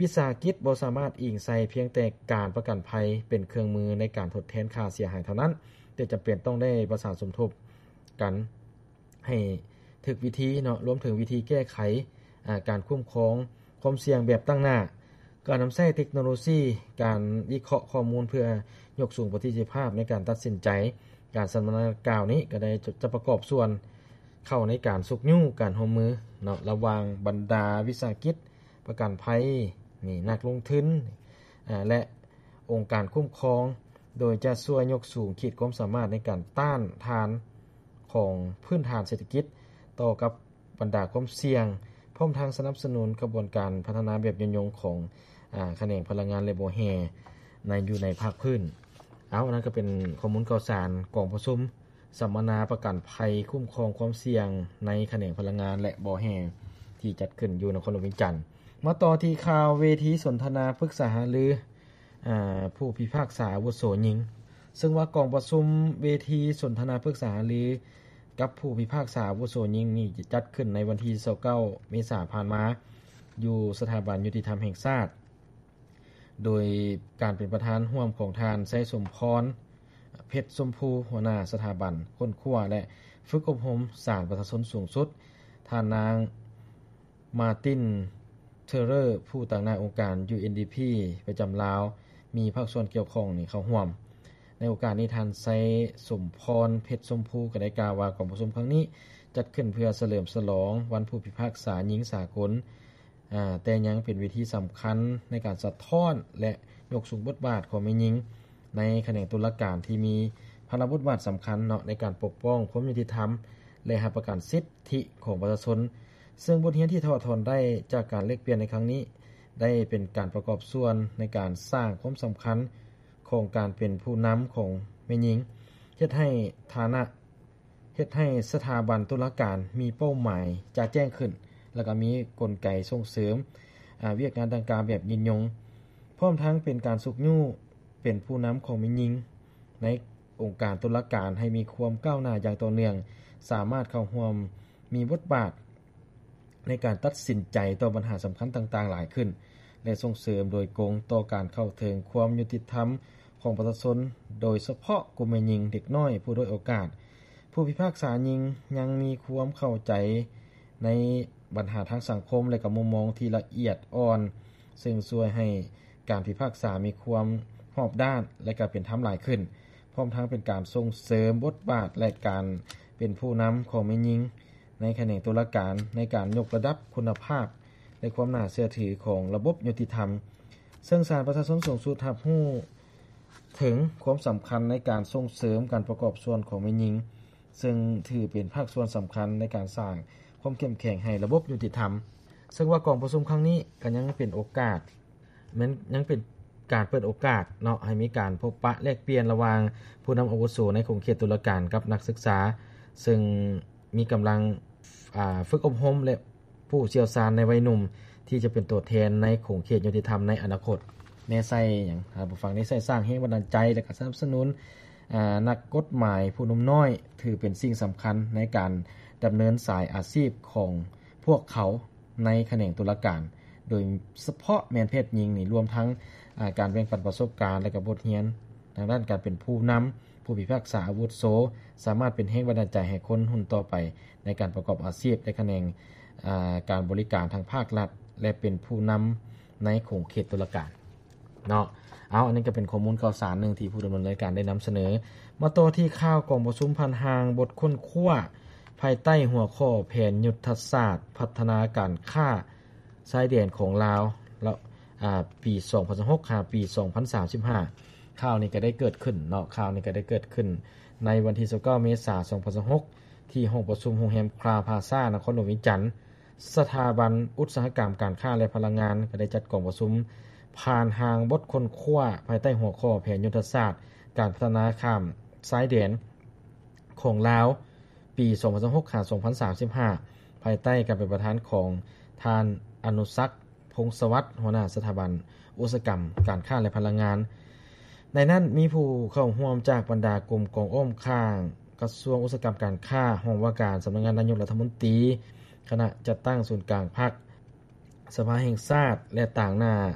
ວິສາຫະກິດບໍ່ສາມາດອີງໃສ່ພຽງແຕ່ການປະກັນໄພເປັນເຄື່ອງມືໃນການທົດແທນຄ່າເສຍຫາຍເທົ່ານັ້ນ, ແຕ່ຈຳເປັນຕ້ອງໄດ້ປະສານສົມທົບກັນໃຫ້ຖືກວິທີເນາະ, ລວມເຖິງວິທີແກ້ໄຂ ອາ ການຄຸ້ມຄອງຄວາມສ່ຽງແບບຕັ້ງໜ້າ, ການນຳໃຊ້ເຕັກໂນໂລຊີ, ການວິເຄາະຂໍ້ມູນເພື່ອຍົກສູງປະສິດທິພາບໃນການຕັດສິນໃຈ. ການສຳມະນາດັ່ງກ່າວນີ້ກໍໄດ້ຈະປະກອບສ່ວນເຂົ້າໃນການຊຸກຍູ້ການຮ່ວມມືເນາະ ລະຫວ່າງບັນດາວິສາຫະກິດ ປະກັນໄພນີ້ ນັກລົງທຶນ ອາ ແລະ ອົງການຄຸ້ມຄອງ, ໂດຍຈະຊ່ວຍຍົກສູງຂີດຄວາມສາມາດໃນການຕ້ານທານຂອງພື້ນຖານເສດຖະກິດຕໍ່ກັບບັນດາຄວາມສ່ຽງ, ພ້ອມທັງສະໜັບສະໜູນຂະບວນການພັດທະນາແບບຍືນຍົງຂອງ ອາ ຂະແໜງພະລັງງານ ແລະ ບໍ່ແຮ່ໃນ ຢູ່ໃນພາກພື້ນ. ເອົາ ອັນນັ້ນກໍເປັນຂໍ້ມູນຂ່າວສານກອງປະຊຸມ ສຳມະນາປະກັນໄພຄຸ້ມຄອງຄວາມສ່ຽງໃນຂະແໜງພະລັງງານ ແລະ ບໍ່ແຮ່ ທີ່ຈັດຂຶ້ນຢູ່ນະຄອນຫຼວງວຽງຈັນ. ມາຕໍ່ທີ່ຂ່າວເວທີສົນທະນາປຶກສາຫາລື ອາ ຜູ້ພິພາກສາອາວຸໂສຍິງ, ເຊິ່ງວ່າກອງປະຊຸມເວທີສົນທະນາປຶກສາຫາລືກັບຜູ້ພິພາກສາອາວຸໂສຍິງນີ້ ຈັດຂຶ້ນໃນວັນທີຊາວເກົ້າ ເມສາຜ່ານມາ ຢູ່ສະຖາບັນຍຸຕິທຳແຫ່ງຊາດ. ໂດຍການເປັນປະທານຮ່ວມຂອງທ່ານ ໄຊສົມພອນ ເພັດຊົມພູ ຫົວໜ້າສະຖາບັນຄົ້ນຄວ້າ ແລະ ຝຶກອົບຮົມສານປະຊາຊົນສູງສຸດ, ທ່ານນາງ ມາຕິນ ເທີເຣີ ຜູ້ຕາງໜ້າອົງການ UNDP ປະຈຳລາວ, ມີພາກສ່ວນກ່ຽວຂ້ອງນີ້ເຂົ້າຮ່ວມ. ໃນໂອກາດນີ້ ທ່ານ ໄຊສົມພອນ ເພັດຊົມພູ ກໍໄດ້ກ່າວວ່າ ກອງປະຊຸມຄັ້ງນີ້ຈັດຂຶ້ນເພື່ອສະເຫຼີມສະຫຼອງວັນຜູ້ພິພາກສາຍິງສາກົນ, ອາ ແຕ່ຍັງເປັນເວທີສຳຄັນໃນການສະທ້ອນ ແລະ ຍົກສູງບົດບາດຂອງແມ່ຍິງໃນຂະແໜງຕຸລາການ ທີ່ມີພາລະບົດບາດສຳຄັນເນາະ ໃນການປົກປ້ອງຄວາມຍຸຕິທຳ ແລະ ຮັບປະກັນສິດທິຂອງປະຊາຊົນ. ເຊິ່ງບົດຮຽນທີ່ຖອດຖອນໄດ້ຈາກການແລກປ່ຽນໃນຄັ້ງນີ້ ໄດ້ເປັນການປະກອບສ່ວນໃນການສ້າງຄວາມສຳຄັນຂອງການເປັນຜູ້ນຳຂອງແມ່ຍິງ, ເຮັດໃຫ້ຖານະ ເຮັດໃຫ້ສະຖາບັນຕຸລາການມີເປົ້າໝາຍຈະແຈ້ງຂຶ້ນ ແລ້ວກໍມີກົນໄກສົ່ງເສີມ ອາ ວຽກງານດັ່ງກ່າວແບບຍືນຍົງ, ພ້ອມທັງເປັນການຊຸກຍູ້ເປັນຜູ້ນຳຂອງແມ່ຍິງໃນອົງການຕຸລາການໃຫ້ມີຄວາມກ້າວໜ້າຢ່າງຕໍ່ເນື່ອງ, ສາມາດເຂົ້າຮ່ວມມີບົດບາດໃນການຕັດສິນໃຈຕໍ່ບັນຫາສຳຄັນຕ່າງໆຫຼາຍຂຶ້ນ ແລະ ສົ່ງເສີມໂດຍກົງຕໍ່ການເຂົ້າເຖິງຄວາມຍຸຕິທຳ ຂອງປະຊາຊົນ, ໂດຍສະເພາະກຸ່ມແມ່ຍິງ, ເດັກນ້ອຍ, ຜູ້ດ້ອຍໂອກາດ. ຜູ້ພິພາກສາຍິງຍັງມີຄວາມເຂົ້າໃຈໃນບັນຫາທາງສັງຄົມ ແລະ ກໍມຸມມອງທີ່ລະອຽດອ່ອນ, ເຊິ່ງຊ່ວຍໃຫ້ການພິພາກສາມີຄວາມຮອບດ້ານ ແລະ ກໍເປັນທຳຫຼາຍຂຶ້ນ, ພ້ອມທັງເປັນການສົ່ງເສີມບົດບາດ ແລະ ການເປັນຜູ້ນຳຂອງແມ່ຍິງໃນຂະແໜງຕຸລາການ ໃນການຍົກລະດັບຄຸນນະພາບ ແລະ ຄວາມໜ້າເຊື່ອຖືຂອງລະບົບຍຸຕິທຳ. ເຊິ່ງສານປະຊາຊົນສູງສຸດຮັບຮູ້ ເຖິງຄວາມສຳຄັນໃນການສົ່ງເສີມການປະກອບສ່ວນຂອງແມ່ຍິງ, ເຊິ່ງຖືເປັນພາກສ່ວນສຳຄັນໃນການສ້າງຄວາມເຂັ້ມແຂງໃຫ້ລະບົບຍຸຕິທຳ. ເຊິ່ງວ່າກອງປະຊຸມຄັ້ງນີ້ກໍຍັງເປັນໂອກາດ, ແມ່ນຍັງເປັນການເປີດໂອກາດເນາະ, ໃຫ້ມີການພົບປະແລກປ່ຽນລະຫວ່າງຜູ້ນຳອາວຸໂສໃນຂົງເຂດຕຸລາການກັບນັກສຶກສາ, ເຊິ່ງມີກຳລັງ ອາ ຝຶກອົບຮົມ ແລະ ຜູ້ຊ່ຽວຊານໃນໄວໜຸ່ມ ທີ່ຈະເປັນຕົວແທນໃນຂົງເຂດຍຸຕິທຳໃນອະນາຄົດ. ແນໃສ່ຫຍັງ? ທ່ານຜູ້ຟັງ ແນໃສ່ສ້າງແຮງບັນດານໃຈ ແລະ ກະສະໜັບສະໜູນ ອາ ນັກກົດໝາຍຜູ້ໜຸ່ມນ້ອຍ ຖືເປັນສິ່ງສຳຄັນໃນການດຳເນີນສາຍອາຊີບຂອງພວກເຂົາໃນຂະແໜງຕຸລາການ, ໂດຍສະເພາະແມ່ນເພດຍິງນີ້, ລວມທັງ ອາ ການແບ່ງປັນປະສົບການ ແລະ ກະບົດຮຽນ ທາງດ້ານການເປັນຜູ້ນຳ, ຜູ້ພິພາກສາອາວຸໂສ, ສາມາດເປັນແຮງບັນດານໃຈໃຫ້ຄົນຮຸ່ນຕໍ່ໄປໃນການປະກອບອາຊີບໃນຂະແໜງ ອາ ການບໍລິການທາງພາກລັດ ແລະ ເປັນຜູ້ນຳໃນຂົງເຂດຕຸລາການເນາະ. ເອົາ, ອັນນີ້ກໍເປັນຂໍ້ມູນຂ່າວສານໜຶ່ງທີ່ຜູ້ດຳເນີນລາຍການໄດ້ນຳສະເໜີ. ມາຕໍ່ທີ່ຂ່າວກອງປະຊຸມຜ່ານຮ່າງບົດຄົ້ນຄວ້າ ພາຍໃຕ້ຫົວຂໍ້ແຜນຍຸດທະສາດພັດທະນາການຄ້າ ຊາຍແດນຂອງລາວ ລະ ອາ ປີສອງພັນຊາວຫົກ ຫາ ປີສອງພັນສາມສິບຫ້າ. ຂ່າວນີ້ກໍໄດ້ເກີດຂຶ້ນເນາະ, ຂ່າວນີ້ກໍໄດ້ເກີດຂຶ້ນໃນວັນທີຊາວເກົ້າ ເມສາ ສອງພັນຊາວຫົກ ທີ່ຫ້ອງປະຊຸມໂຮງແຮມຄຣາວພາຊາ ນະຄອນຫຼວງວຽງຈັນ. ສະຖາບັນອຸດສາຫະກຳ, ການຄ້າ ແລະ ພະລັງງານ ກໍໄດ້ຈັດກອງປະຊຸມຜ່ານຮ່າງບົດຄົ້ນຄວ້າ ພາຍໃຕ້ຫົວຂໍ້ແຜນຍຸດທະສາດການພັດທະນາຂ້າມຊາຍແດນຂອງລາວ ປີສອງພັນຊາວຫົກ ຫາ ສອງພັນສາມສິບຫ້າ ພາຍໃຕ້ການເປັນປະທານຂອງທ່ານ ອະນຸສັກ ພົງສະຫວັດ ຫົວໜ້າສະຖາບັນອຸດສາຫະກຳ, ການຄ້າ ແລະ ພະລັງງານ. ໃນນັ້ນມີຜູ້ເຂົ້າຮ່ວມຈາກບັນດາກົມກອງອ້ອມຂ້າງກະຊວງອຸດສາຫະກຳການຄ້າ, ຫ້ອງວ່າການສຳນັກງານນາຍົກລັດຖະມົນຕີ, ຄະນະຈັດຕັ້ງສູນກາງພັກ, ສະພາແຫ່ງຊາດ ແລະ ຕາງໜ້າ